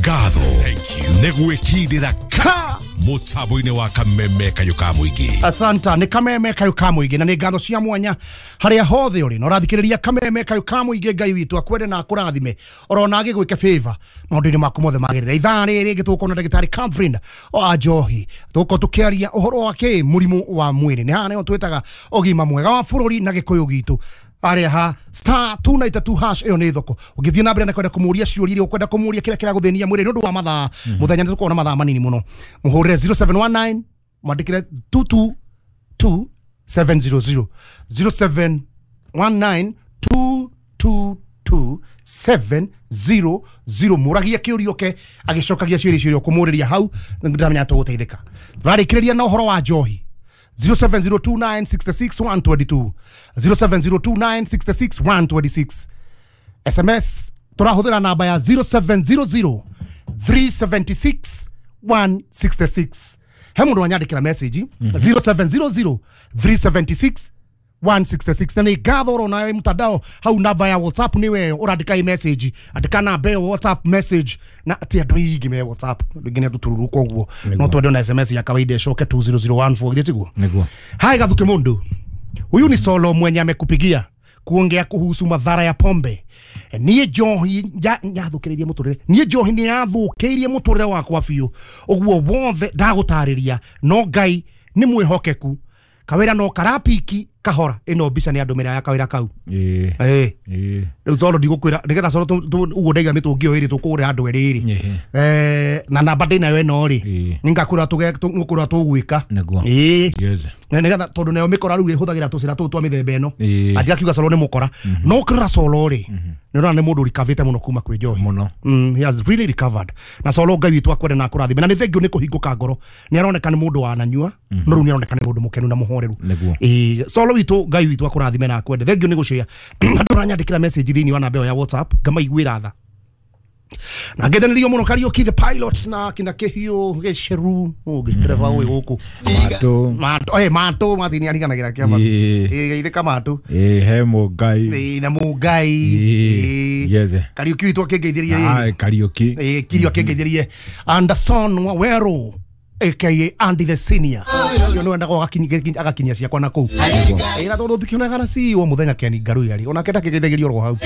Ngatho nĩ gwĩkindĩra ka mũtambo-inĩ wa Kameme Kayũ ka Mũingĩ. Asanta nĩ Kameme Kayũ ka Mũingĩ, na nĩ ngatho cia mwanya harĩa hothe ũrĩ na ũrathikĩrĩria Kameme Kayũ ka Mũingĩ. Ngai witũ akwende na akũrathime orona agĩgwĩke favor maũndũ-inĩ maku mothe magĩrĩre. Ithaa rĩrĩ rĩngĩ tũgũkorwo na ndagĩtarĩ Catherine wa Njohi, tũgũkorwo tũkĩaria ũhoro wa kĩ mũrimũ wa mwĩrĩ. Nĩ haha nĩho twĩtaga ũgima mwega wa bũrũri na gĩkũyũ gitũ. Arĩa ha star 292 hash, ĩyo nĩ thoko. Ũngĩthiĩ na mbere na kwenda kũmũria ciũria iria ũkwenda kũmũria kĩrĩa kĩragũthĩnia mwĩrĩ nĩ ũndũ wa mathaa mũthenya, nĩ tũkorwo na mathaa manini mũno. Mũhũrĩre 0719 mwandĩkĩre 222 700, 0719 222 700. Mũragie kĩũria ũke agĩcokagia ciũria icio iria ũkũmũrĩria hau, ndamenya tũgũteithĩka. Tũrarĩkĩrĩria na ũhoro wa njohi. 0702966122, 0702966126. SMS tũrahũthĩra namba ya 0700 376 166. He mũndũ wanyandĩkĩra message 0700 376 166, na nĩ ngatho ũrona mtandao hau. Namba ya WhatsApp nĩwe ũrandĩka i message, andĩka namba ĩyo WhatsApp message, na ti andũ aingĩ me WhatsApp, andũ aingĩ nĩ atũtũruru, koguo no twende na SMS ya kawaida ĩcoke 20014, githĩ tiguo? Nĩguo. Hai Gathuki, mundu huyu ni Solo mwenye amekupigia kuongea kuhusu madhara ya pombe. Niĩ njohi nyathũkĩrĩirie mũtũrĩre, niĩ njohi nĩ yathũkĩirie mũtũrĩre wakwa biũ, ũguo wothe ndagũtarĩria, no Ngai nĩ mwĩhokeku. Kawĩra no karapiki kahora. Ĩno mbica nĩ andũmĩra ya kawĩra kau. Ĩĩ. Ĩĩ. Ĩĩ. Rĩu Solo ndigũkwĩra nĩgetha Solo ũguo ndaiga mĩtũngi ĩyo ĩrĩ tũkũgũrĩra andũ erĩ rĩ. Ĩĩ. Na namba ndĩnayo ĩno rĩ, Ĩĩ. nĩngakwĩra tũgũkwĩra tũgwĩka. Nĩguo. Ĩĩ. Yes. Na nĩgetha tondũ nayo mĩkora rĩu ĩhũthagĩra tũcĩra tũtũ twa mĩthemba ĩno. Ĩĩ. Andigakiuga Solo nĩ mũkora, no ũkĩrora Solo rĩ, nĩ ũrona nĩ mũndũ ũrikavĩte mũno kuma kwĩ njohi. Mũno. He has really recovered. Na Solo, Ngai witũ akwende na akũrathime, na nĩ thengiũ nĩ kũhingũka ngoro. Nĩ aroneka nĩ mũndũ wananyua, no rĩu nĩ aroneka nĩ mũndũ mũkenu na mũhoreru. Nĩguo. Ĩĩ, Solo witũ, Ngai witũ akũrathime na akwende. Thengiũ nĩ gũcĩa andũ aranyandĩkĩra message thĩinĩ wa namba ĩyo ya WhatsApp, ngamaiguĩra tha na ngethanĩrio mũno. Kariũki the pilot na kina Kĩhiũ Gĩceru ũngĩ ndereba ũyũ gũkũ. Matũ. Matũ, matũ Martin ariganagĩra kĩama. Ĩĩ. Ĩĩ, geithĩka matũ. Ĩĩ, he Mũngai. Ĩĩ, na Mũngai. Ĩĩ. Ĩĩ. Yes. Kariũki witũ akĩngeithĩrie rĩrĩ. Ah, Kariũki. Ĩĩ, Kirio akĩngeithĩrie Anderson Waweru aka Andy the Senior, ũcio nĩ wendaga agakinyia ciakwa na kũu. Ĩĩ, na tondũ ndikĩonaga na CEO mũthenya Ken Ngaruya rĩ, onake ndakĩgeithagĩrio oro hau.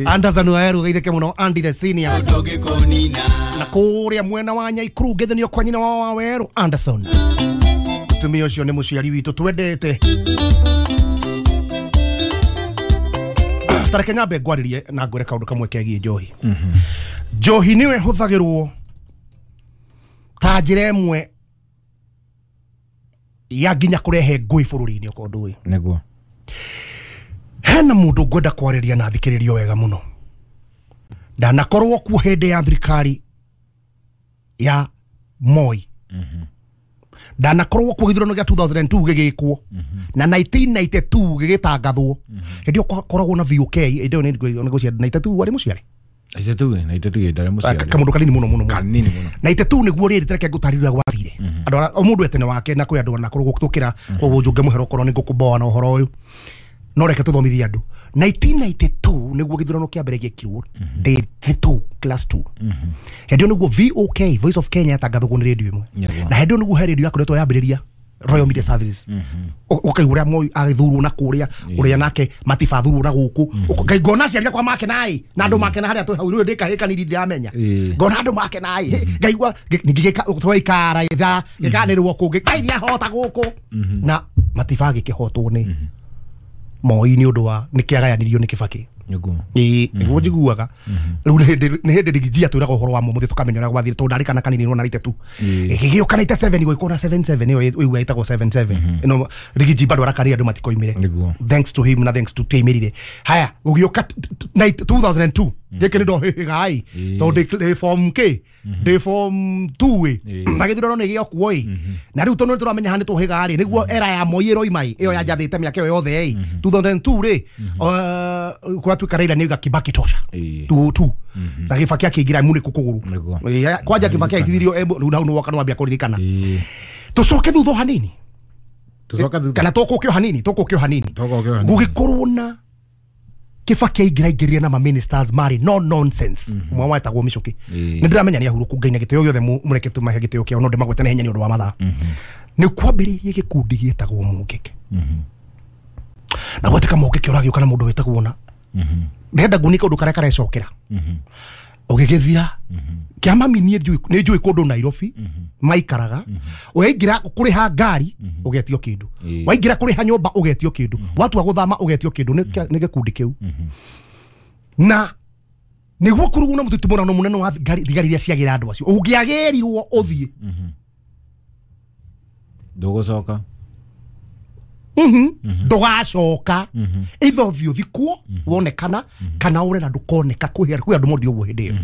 Anderson Waweru, geithĩke mũno Andy the Senior. Na kũrĩa mwena wa Nyaikuru ngeithanio kwa nyina wa Waweru Anderson. Mũtumia ũcio nĩ mũciari witũ twendete. Tareke nyambe ngwarĩrie na ngwĩre kaũndũ kamwe kegiĩ njohi. Njohi nĩyo ĩhũthagĩrwo ta njĩra ĩmwe ya nginya kũrehe ngũĩ bũrũri-inĩ, okorwo ndũĩ. Nĩguo. Hena mũndũ ngwenda kwarĩria na thikĩrĩrio wega mũno. Ndanakorwo kuo hĩndĩ ya thirikari ya Moi, ndanakorwo kuo gĩthurano gĩa 2002 gĩgĩkwo na 1992 gĩgĩtangathwo. Hĩndĩ ĩyo kwakoragwo na VOK. Hĩndĩ ĩyo nĩ 92 warĩ mũciare? 92, 92 ndarĩ mũciari. Kamũndũ kanini mũno mũno mũno. Kanini mũno. 92 nĩguo rĩrĩ tereke ngũtarĩria gwathire. Andũ o mũndũ etene wake, na kwĩ andũ anakorwo gũtũkĩra, koguo njũnge mũhero okorwo nĩ ngũkũmboa na ũhoro ũyũ, no reke tũthomithie andũ. 1992 nĩguo gĩthurano kĩa mbere gĩekirwo, ndĩ 2 class 2. Hĩndĩ ĩyo nĩguo VOK, Voice of Kenya, yatangathagwo nĩ rĩndiũ ĩmwe. Nĩguo. Na hĩndĩ ĩyo nĩguo he rĩndiũ yakoretwo yambĩrĩria, Royal Media Services. Ũkaigua ũrĩa Moi agĩthurwo na kũrĩa, ũrĩa nake Matiba athurwo na gũkũ. Ngai, ngona aciari akwa makenaĩ na andũ makena harĩa twĩ hau. Rĩu ndĩ kahĩĩ kanini, ndiramenya. Ĩĩ. Ngona andũ makenaĩ, ngaigua ningĩ twaikara ithaa gĩkanĩrwo kũngĩ, Ngai nĩahota gũkũ, na Matiba agĩkĩhotwo nĩ Moi nĩ ũndũ wa nĩ kĩagayanirio nĩ Kĩbakĩ. Nĩguo. Ĩĩ, nĩguo njiguaga. Rĩu nĩ hĩndĩ rigijia twĩraga ũhoro wa mũthĩ, tũkamenya ũrĩa gwathire, tondũ ndarĩ kana kanini nona rite tu. Ĩĩ. Gĩgĩũka 97, gũgĩkorwo na 77, ĩyo ĩigua ĩtagwo 77 ĩno. Rigiji bado arakarire andũ matikoimĩre. Nĩguo. Thanks to him na thanks to tĩimĩrire. Haya, gũgĩũka 2002, gĩkĩ nĩ ndohĩhĩga ĩ, tondũ ndĩ form k ndĩ form 2 ĩ. Ĩĩ. Na gĩthurano nĩ gĩokuo ĩ, na rĩu tondũ nĩ tũramenya haha nĩ tũhĩga rĩ, nĩguo era ya Moi ĩroima ĩ, ĩyo yanjathĩte mĩaka ĩyo yothe ĩ. 2002 rĩ, gwatuĩka Raila nĩ oiga Kibaki tosha. Ĩĩ. 2002 na Kibaki akĩingĩra munĩku kũgũrũ. Nĩguo. Ĩĩ, kwanja Kibaki aitithirio rĩu nau nĩwoka nĩwambia kũririkana. Ĩĩ. Tũcoke thutha o hanini. Tũcoke thutha. Kana tũkũke o hanini, tũkũke o hanini. Tũkũke o hanini. Gũgĩkorwo na Kibaki aingĩraingĩrire na ma ministers marĩ no nonsense. Ũmwe wetagwo Michuki. Nĩ ndĩramenya nĩ ahurũku Ngai na gĩtĩo gĩothe mũreke tũmahe gĩtĩo kĩao no ndĩmagwete na hinya nĩ ũndũ wa mathaa. Nĩ kwambĩrĩirie gĩkundi gĩtagwo Mũngĩke. Na gwatĩka Mũngĩke ũragĩũka na mũndũ wĩtagwo na ndĩrenda nguonie kaũndũ karĩa karecokera. Ũgĩgĩthira kĩa mami niĩ nĩ njũĩ kũndũ Nairobi maikaraga waingĩra kũrĩha ngari ũgetio kĩndũ, waingĩra kũrĩha nyũmba ũgetio kĩndũ, watua gũthama ũgetio kĩndũ nĩ gĩkundi kĩu. Na nĩguo kũrugwo na mũtitimũrano mũnene wa thigari iria ciagĩra andũ acio ũngĩagĩrirwo ũthiĩ ndũgũcoka. Ndũgacoka either ũthiĩ ũthikwo wonekana kana ũre na ndũkoneka. Kwĩ andũ mondi ũguo hĩndĩ ĩyo.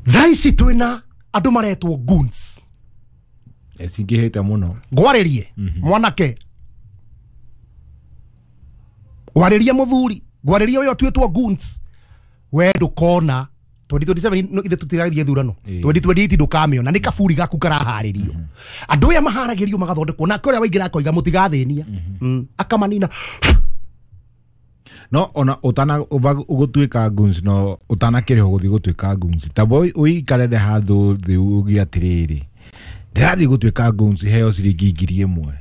Thaa ici twĩna andũ maretwo goons. Cingĩhĩte mũno. Ngwarĩrie mwanake, ngwarĩrie mũthuri, ngwarĩrie ũyũ atuĩtwo goons. We ndũkona 2027 ithe tũtirathiĩ thurano 2028 ndũkamĩona nĩ kaburi gaku karaharĩrio. Andũ aya maharagĩrio magathondekwo nake ũrĩa waingĩra akoiga mũtigathĩnia akamanina. No ona utana ũgũtuĩka goons no ũtanakĩrĩhwo gũthiĩ gũtuĩka goons tabo ũikarere handũ thĩ uge atĩrĩrĩ ndĩrathiĩ gũtuĩka goons heo ciringi 1,000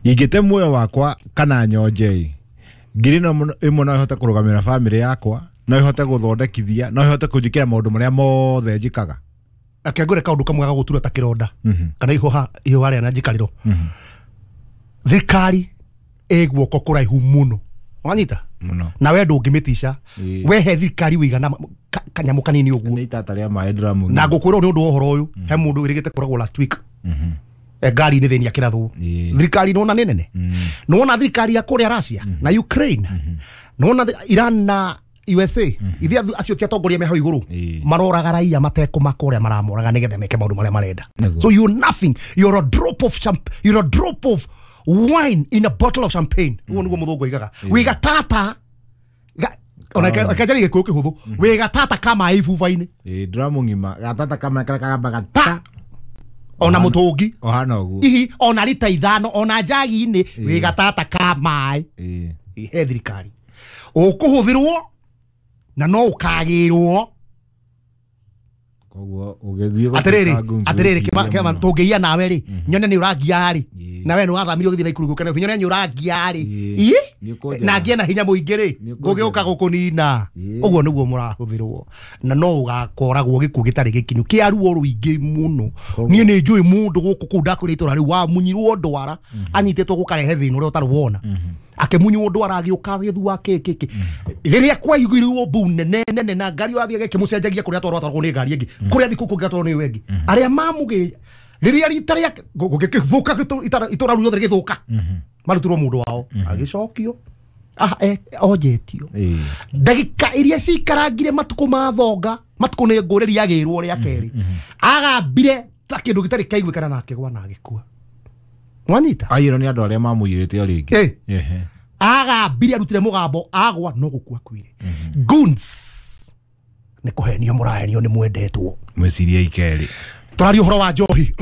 ingĩte muoyo wakwa kana nyonje 1,000 no ĩhote kũrũgamĩra bamĩrĩ yakwa, no ĩhote gũthondekithia, no ĩhote kũnjĩkĩra maũndũ marĩa mothe njĩkaga. Reke ngwĩre kaũndũ kamwe gagũtura ta kĩronda kana ihũha rĩa na njikarĩro. Thirikari ĩ guoko kũraihu mũno wanyita mũno na we ndũngĩmĩtica. We he thirikari wĩigana kanyamũ kanini ũguo nĩ itata rĩa maĩ ndĩramũ na ngũkwĩra nĩ ũndũ wa ũhoro ũyũ he mũndũ wĩrĩgĩte kũragwo last week ngari-inĩ thĩinĩ akĩrathwo. Thirikari nĩwona nĩ nene, nĩwona thirikari ya kũrĩa Russia na Ukraine, nĩwona Iran na USA ithe acio ti atongoria me hau igũrũ maroraga raia matekũmaka ũrĩa maramoraga nĩgetha meke maũndũ marĩa marenda. So you're nothing, you're a drop of you're a drop of wine in a bottle of champagne. Ũguo nĩguo mũthũngũ oigaga. Wĩ gatata ona kanjari gĩkũyũ kĩhũthũ wĩ gatata ka maĩ ibuba-inĩ. Ndũramu ng'ima gatata ka maĩ karĩa kagambaga ta ona mũtũngi ohana ũguo ihi ona rita 5 ona njagi-inĩ wĩ gatata ka maĩ. He thirikari ũkũhũthĩrwo na no ũkagĩrwo. Koguo ũgĩthiĩ atĩrĩrĩ atĩrĩrĩ kĩama tũngĩia nawe rĩ nyone nĩ ũrangia rĩ nawe nĩ wathamire ũgĩthiĩ Naikuru gũka Nairobi nyone nĩ ũrangia rĩ na ngĩe na hinya mũingĩ rĩ ngũgĩũka gũkũnina. Ũguo nĩguo mũrahũthĩrwo na no ũgakoragwo gĩkuũ gĩtarĩ gĩkinyu kĩa ruo rũingĩ mũno. Niĩ nĩ njũĩ mũndũ gũkũ kũu ndakwĩra itũra rĩu wamunyirwo ndwara anyitĩtwo gũkarehe thĩna ũrĩa ũtarĩ wona akĩmunywo ndwara agĩũka agĩthua kĩ rĩrĩa kwaiguirwo mbu nene nene na ngari wathiĩ agĩkĩmũcenjagia kũrĩa atwarwo atwarwo nĩ ngari ĩngĩ kũrĩa thikũ kũngĩ atwarwo nĩ ĩyo ĩngĩ arĩa mamũgĩ rĩrĩa rita rĩa gũgĩthũka itũra rĩu rĩothe rĩgĩthũka marutirwo mũndũ wao agĩcokio onjetio ndagĩka iria cikarangire matukũ ma thonga matukũ nĩ ngũrĩria agĩrwo rĩa kerĩ agambire ta kĩndũ gĩtarĩ kĩaiguĩkana na akĩgwa na agĩkua. Wanyita aiyĩrwo nĩ andũ arĩa mamũiyĩrĩte o rĩngĩ. Agambire arutire mũgambo agwa no gũkua akuire. Goons nĩ kũhenio mũrahenio nĩ mwendetwo mwĩcirie ikerĩ. Tũraria ũhoro wa njohi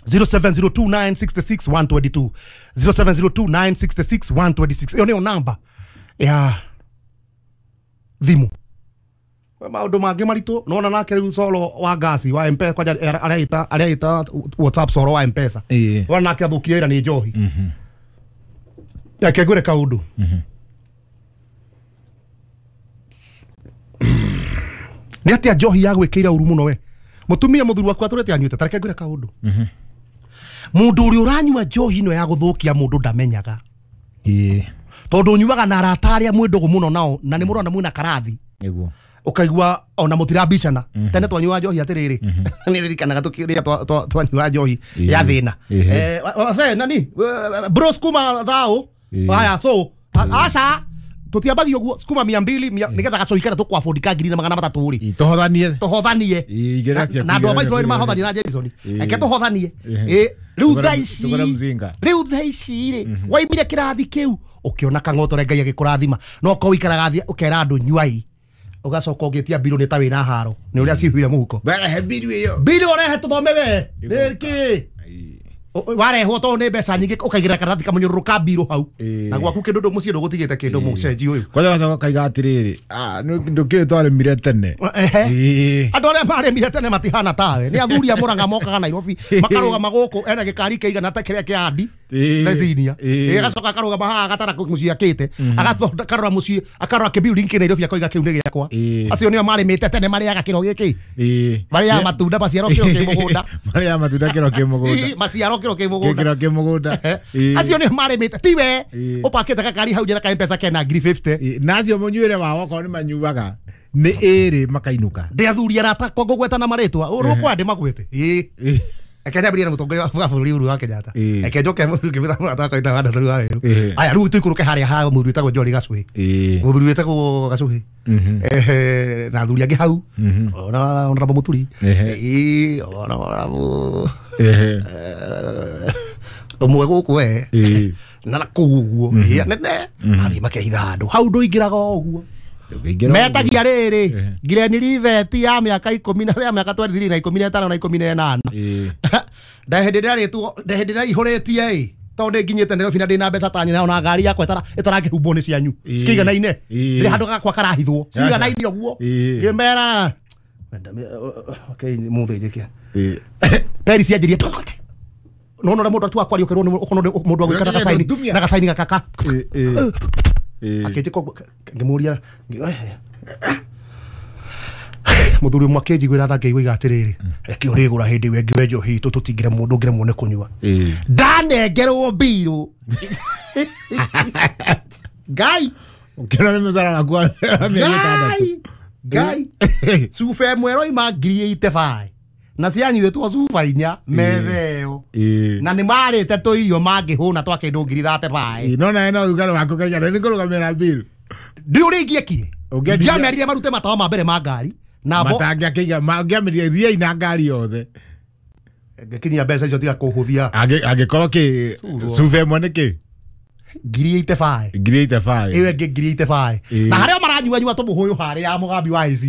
0702966122 0702966126 ĩyo nĩyo namba ya thimũ. Maũndũ mangĩ maritũ nona nake rĩu coro wa ngasi wa M-Pesa kwanja arĩa WhatsApp coro wa M-Pesa wona nake athũkire wĩra nĩ njohi. Reke ngwĩre kaũndũ. Nĩ atĩa njohi yagwĩkĩire ũru mũno we mũtumia mũthuri waku atũrĩte anyuĩte ta reke ngwĩre kaũndũ. Mũndũ ũrĩa ũranyua njohi ĩno ya gũthũkia mũndũ ndamenyaga tondũ ũnyuaga na arata arĩa mwĩ ndũgũ mũno nao na nĩ mũrona mwĩna karathi nĩguo ũkaigua ona mũtirambicana. Tene twanyua njohi atĩrĩrĩ nĩ ririkanaga tũkĩrĩa twanyua njohi ya thĩna nani bro sukuma thao haya so aca tutiambagio guo sukuma 200 nigetha gacohi karĩa tũkwabondi ka 1,300 rĩ tohothanie tohothanie na andũ a Viceroy nĩmahothanie na Jameson reke tũhothanie. Rĩu thaa ici rĩu thaa ici rĩ waimire kĩrathi kĩu ũkĩona kang'otore Ngai agĩkũrathima no korwo wikaraga thĩ ũkera andũ nyuai ũgacoka ũgĩtia mbirũ nĩ ta wĩna haro nĩ ũrĩa cihuire mũhuko Rehe mbiru ĩyo mbirũ ũrehe tũthome we nĩkĩ Warehwo to nĩ mbeca nyingĩ ũkaigĩra karatathi kamũnyũrũrũ ka mbirũ hau na gwaku kĩndũ ndũ mũciĩ ndũgũtigĩte kĩndũ mũcenji ũyũ. Kwanza gacoka kaiga atĩrĩrĩ, ndũkĩũĩ twarĩmire tene. Andũ arĩa marĩmire tene matihana tawe. Nĩ athuri a Murang'a mokaga Nairobi makarũgama gũkũ ena gĩkari kĩigana ta kĩrĩa kĩa Andi Lesinia. Agacoka akarũgama haha agatara mũciĩ akĩte akarora mũciĩ akarora kĩbuilding kĩ Nairobi akoiga kĩu nĩ gĩakwa. Acio nĩo marĩmĩte tene marĩaga kĩro gĩkĩ. Marĩaga matunda maciaro kĩro kĩ mũgũnda. Marĩaga matunda kĩro kĩ mũgũnda. Maciaro kĩro kĩ mũgũnda. Kĩro kĩ mũgũnda. Acio nĩo marĩmĩte tiwe ũpakĩte gakari hau njĩra ka M-Pesa kena 50. Na acio mũnyuĩre wao okorwo nĩ manyuaga nĩ ĩrĩ makainũka. Ndĩ athuri arata kwa ngũgweta na marĩtwa ũrũkwa ndĩmagwete. Eke nyambĩrĩrie na mũtongoria wa bũrũri Uhuru wa Kenyatta. Eke njoke ngĩmwĩra mũrata wakwa wĩtagwo Anderson wa Weru. Aya rĩu tũikũrũke harĩa ha mũthuri wĩtagwo Njori Gacuhĩ. Mũthuri wĩtagwo Gacuhĩ. Na athuri angĩ hau. Ona Honorable Mũturi. Ona Honorable ũmwe gũkũ we. Na kũu ũguo. Nene. Mathiĩ makehitha handũ. Hau ndũingĩraga o ũguo. Metagia rĩrĩ Glen Rivet ya mĩaka 10 na ya mĩaka 23 na 15 na 18. Ndahĩndĩ ĩrĩa ndahĩndĩ ĩrĩa ihũrĩtie ĩ tondũ nĩ nginyĩte Nairobi na ndĩna mbeca ta nyina ona ngari yakwa ĩtarakĩhumbwo nĩ cianyu cikĩiganaine rĩ handũ gakwa karahithwo ciganaine ũguo ngĩmera okay mũthĩ njĩke peri cianjĩrie no no mũndũ atuaga kwaria ũkerwo ũkorwo mũndũ agwĩka na gacaini na gacaini gakaka akĩnjĩka ngĩmũria mũthuri ũmwe akĩnjiguĩra tha ngĩigua atĩrĩrĩ reke ũrĩgũra hĩndĩ ĩyo ĩngĩ we njohi itũ tũtingĩremwo ndũngĩremwo nĩ kũnyua ndanengerwo mbirũ Ngai ũkĩona nĩ mũcara waku wa mĩeri ĩtandatũ Ngai cuba ĩmwe ĩroima 85,000 na cianyuĩtwo cuba inya metha ĩyo na nĩ marĩte tũirio mangĩhũna twa kĩndũ 35,000. No nawe no rugarĩ waku kaigana nĩ kũrũgamĩra mbirũ ndiũ ũrĩa ingĩekire ndiamerire marute matawa ma mbere ma ngari nabo matangĩakĩiga mangĩamĩrire thiai na ngari yothe ngĩkinyia mbeca icio tiga kũhũthia angĩkorwo kĩ cuba ĩmwe nĩ kĩ 85,000 85,000 ĩyo ĩngĩ 85,000 na harĩa maranyuanyua tũmũhũyũ harĩa ya mũgambi wa ICA.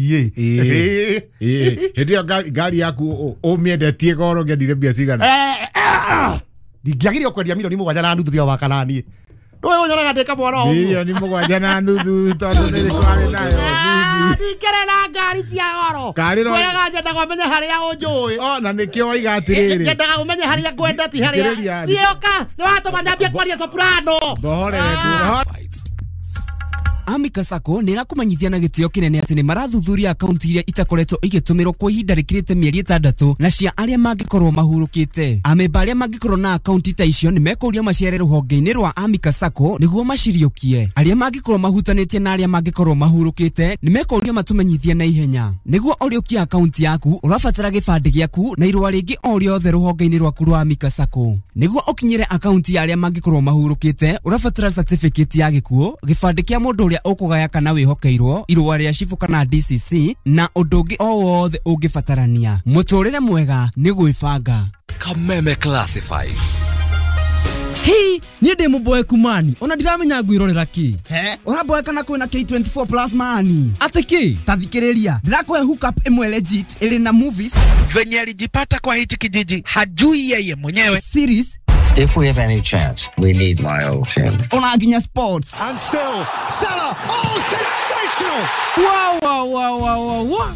Hĩndĩ ĩyo ngari yaku ũmĩendetie goro ũngĩendire mbia cigana? Ndingĩagĩrĩirwo kwendia 7.5 tiga wa kana niĩ ndũĩ ũnyonaga ndĩ kamwana o ũguo 7.5 tondũ nĩ twarĩ nayo ndikĩrĩ na ngari cia goro kwĩraga nyendaga ũmenye harĩa ũnjũĩ na nĩkĩo waiga atĩrĩrĩ nyendaga ũmenye harĩa ngwenda ti harĩa thiĩ ũka nĩ watũma nyambie kwaria soprano. Amika Sacco nä ĩrakũmenyithia na gĩtĩo kĩnene atĩ nĩ marathuthuria akaunti iria itakoretwo igĩtũmĩrwo kwa ihinda rĩkĩrĩte mĩeri 6 na cia arĩa mangĩkorwo mahurũkĩte. Amemba arĩa mangĩkorwo na akaunti ta icio nĩ mekũrio maciare rũhonge-inĩ rwa Amika Sacco nĩguo maciriũkie. Arĩa mangĩkorwo mahutanĩtie na arĩa mangĩkorwo mahurũkĩte nĩ mekũrio matũmenyithie na ihenya. Nĩguo ũrĩũkie akaunti yaku ũrabatara gĩbandĩ gĩaku na irũa rĩngĩ o rĩothe rũhonge-inĩ rwaku rwa Amika Sacco. Nĩguo ũkinyĩre akaunti ya arĩa mangĩkorwo mahurũkĩte ũrabatara certificate ya gĩkuũ, gĩbandĩ kĩa mũndũ ũrĩa ũkũgaya kana wĩhokeirwo, irũa rĩa cibũ kana DCC na ũndũ ũngĩ o wothe ũngĩbatarania. Mũtũrĩre mwega nĩ gwĩbanga. Kameme Classifieds. Hii niĩ ndĩ mũboeku mani ona ndiramenya ngwĩrorera kĩ. He ũraboeka na kwĩna K24 plus mani atĩ kĩ? Ta thikĩrĩria ndĩrakũhe hookup ĩmwe legit ĩrĩ na movies venye alijipata kwa hichi kijiji hajui yeye mwenyewe series. If we have any chance, we need my team. Ona nginya sports. And still, Salah, oh, sensational! Wow, wow, wow, wow, wow.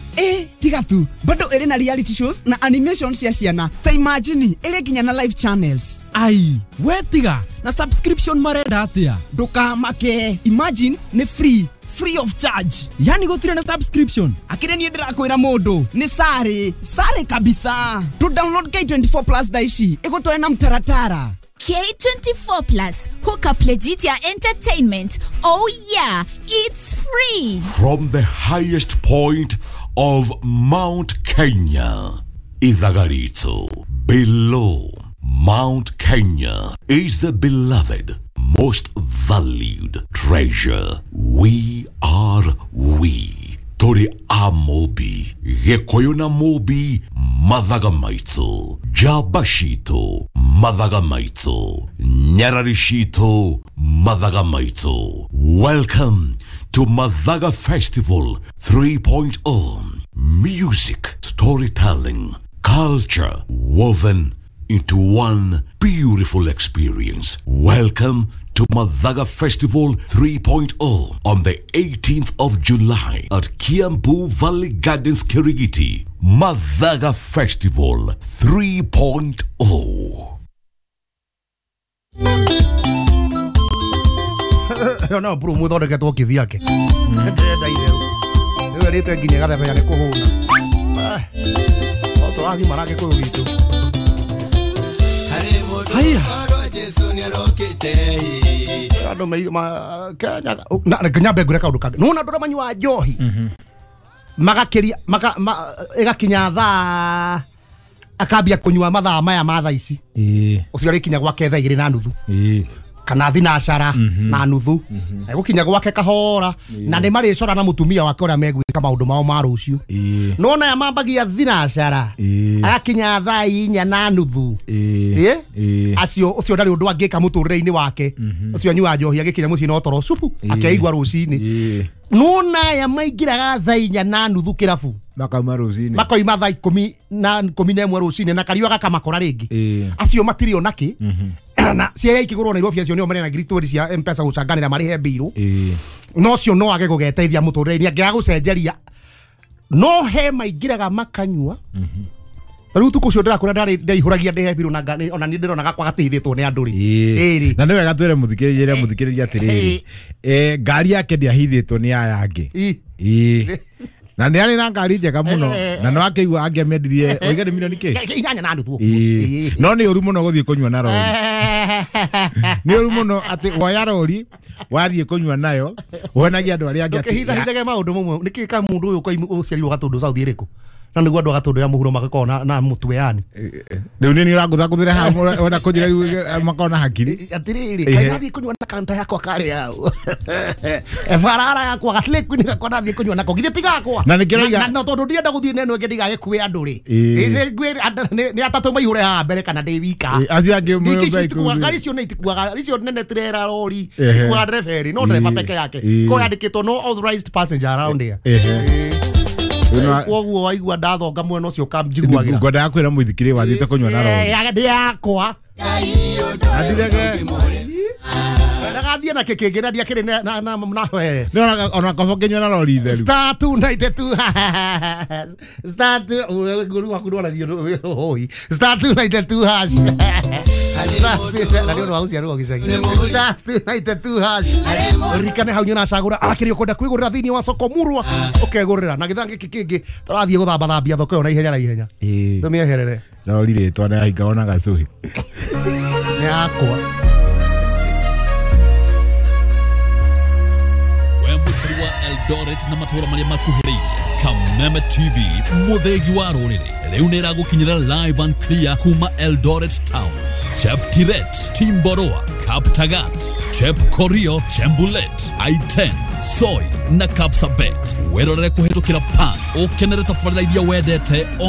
Tiga tu. Bado ĩrĩ na reality shows na animation cia ciana. Ta imagine, ĩrĩ nginya na live channels. Ai, we tiga, na subscription marenda atĩa? Ndũkamake. Imagine, nĩ free. Free of charge. Yani gũtirĩ na subscription. Akĩrĩ niĩ ndĩrakwĩra mũndũ nĩ sare, sare kabisa. To download K24 plus thaa ici ĩgũtware na mtaratara. K24 Plus, hook up legit ya entertainment. Oh yeah, it's free. From the highest point of Mount Kenya, Ithagarito, below Mount Kenya is the beloved, most valued treasure. We are we. Tori amobi, Gĩkũyũ na Mũmbi, mathaga maitũ, njamba citũ, mathaga maitũ, nyarari citũ, mathaga maitũ. Welcome to Mathaga Festival 3.0. Music, storytelling, culture woven into one beautiful experience. Welcome to Mathaga Festival 3.0 on the 18th of July at Kiambu Valley Gardens, Kirigiti. Mathaga Festival 3.0. No, bro, muthondeketwo kivyake. Ndĩrenda itherũ. Rĩu erĩte nginya gathebea nĩ kũhũna. O tũragimara Gĩkũyũ gitũ. Haya. Andũ Kenya na nyambe ngwĩre kaũndũ kangĩ. Nĩwona andũ arĩa manyuaga njohi magakĩria ĩgakinya thaa akambia kũnyua mathaa maya ma thaa ici. Ũcio arĩkinya gwake thaa 2:30. Kana thinacara na nuthu. Egũkinya gwake kahora na nĩ marĩcora na mũtumia wake ũrĩa megwĩka maũndũ mao ma rũciũ. Nĩwona aya mambagia thinacara agakinya thaa 4:30. Acio ũcio ndarĩ ũndũ angĩka mũtũrĩre-inĩ wake. Ũcio anyuaga njohi agĩkinya mũciĩ no toro cupu akeigua rũcinĩ. Nĩwona aya maingĩraga thaa 4:30 kĩrabu makauma rũcinĩ makoima thaa 11 rũcinĩ na kariũa gakamakora rĩngĩ. Acio matirĩ ona kĩ na cia ikigurwo Nairobi acio nĩo marĩ na ngiri cia M-Pesa gũcanganĩra marĩhe mbirũ. No cio no age gũgeteithia mũtũrĩre-inĩ angĩaga gũcenjeria no he maingĩraga makanyua. Rĩu tukũ ũcio ndĩrakũra ndarĩ ndeihũragia ndĩhe mbirũ na ona niĩ ndĩrona gakwa gateithĩtwo nĩ andũ rĩ. Na nĩ wega twĩre mũthikĩrĩria atĩrĩrĩ, ngari yake ndĩahithĩtwo nĩ aya angĩ. Na nĩ arĩ na ngari njega mũno na no akĩigua angĩamendirie oiga nĩ milioni kĩ? 8.5. No nĩ ũru mũno gũthiĩ kũnyua na rori. Nĩ ũru mũno atĩ woya rori wathiĩ kũnyua nayo wonagia andũ arĩa angĩ atĩ ndũkĩhithahithage maũndũ mamwe. Nĩkĩ ka mũndũ ũyũ ũciarirwo Gatũndũ South ĩrĩkũ? Na nĩguo andũ a Gatũndũ ya mũhuro magakorwo na mũtwe yani. Rĩu nĩ ũrangũthangũthĩra haha ona kũnjĩra rĩu makorwo na hakiri. Atĩrĩrĩ, kaĩ ndathiĩ kũnyua na kanta yakwa karĩ hau. Barara yakwa gaslay queen gakwa ndathiĩ kũnyua nako githĩ ti gakwa. Na nĩkĩroiga na tondũ ndirenda gũthiĩ na ĩno ĩngĩ ndigagĩkue andũ rĩ. Nĩ atatũ maihũre haha mbere kana ndĩ wika. Acio angĩ ngari icio nĩ itikuaga icio nene tirera rori citikuaga ndereba erĩ no ndereba peke yake. Koguo yandĩkĩtwo no authorized passenger around here. Koguo waigua ndathonga mwena ũcio ũkanjiguagĩra. Ngwendaga kwĩra mũithikiri wathiĩte kũnyua na rori. Ndĩ yakwa. Ndagathiĩ na kĩkĩngĩ na ndiakĩrĩ na we. Ona kobo ngĩnyua na rori theru. Star 292 Star 2 nguru waku ndwaragio hoi. Star 292 hash. Na nĩ ũndũ wa gũciarwo gĩcagi. Star 292 hash. Ririkane hau nyona cagũra akĩrĩ ũkwenda kwĩgũrĩra thĩinĩ wa soko murwa ũkegũrĩra na gĩthaa gĩkĩ kĩngĩ tũrathiĩ gũthambathambia thoko ĩyo na ihenya na ihenya. Tũmĩeherere. Rori rĩtwa na yahinga ona gacũhĩ. Nĩ yakwa. Eldoret na matũra marĩa makuhĩrĩirie. Kameme TV mũthĩgi wa rũrĩrĩ rĩu nĩ ĩragũkinyĩra live and clear kuma Eldoret town, Cheptiret, Timboroa, Kaptagat, Chepkorio, Chembulet, I10, Soi na Kapsabet. Wĩrorere kũhĩtũkĩra Pan ũkenere tabarĩra iria wendete.